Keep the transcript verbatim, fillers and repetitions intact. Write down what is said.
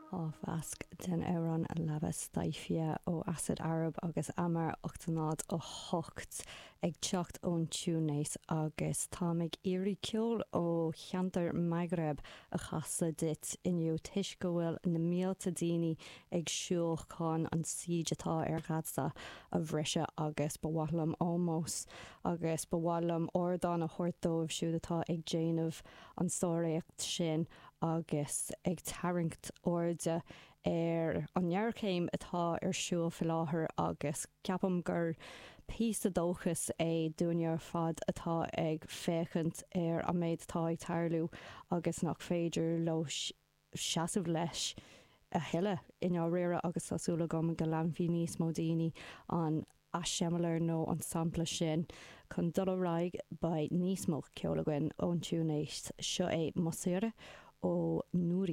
Á mheasc den amhrán Leaba Staifia ó Acid Arab agus Amar ocht náid a hocht ag teacht ón Túinéis agus táim ag iarraidh ceol ó cheantar Maghreb a chasadh duit inniu toisc go bhfuil na mílte daoine ag siúl chun an siege atá ar Gaza a bhriseadh agus ba mhaith liom ómós agus ba mhaith liom ardán a thabhairt dóibh siúd atá ag déanamh an sáréacht sin agus ag tarraingt airde ar an ngéarchéim atá ar siúl faoi láthair agus ceapaim gur píosa dóchas é dúinne ar fad atá ag féachaint ar an méid atá ag tarlú agus nach féidir leo seasamh leis a thuilleadh i ndáiríre agus tá súil agam go leanfaidh níos mó daoine an eiseamláir nó an sampla sin chun dul ar aghaidh beidh níos mó ceol againn ón Túinéis seo é Mosira ó Noura.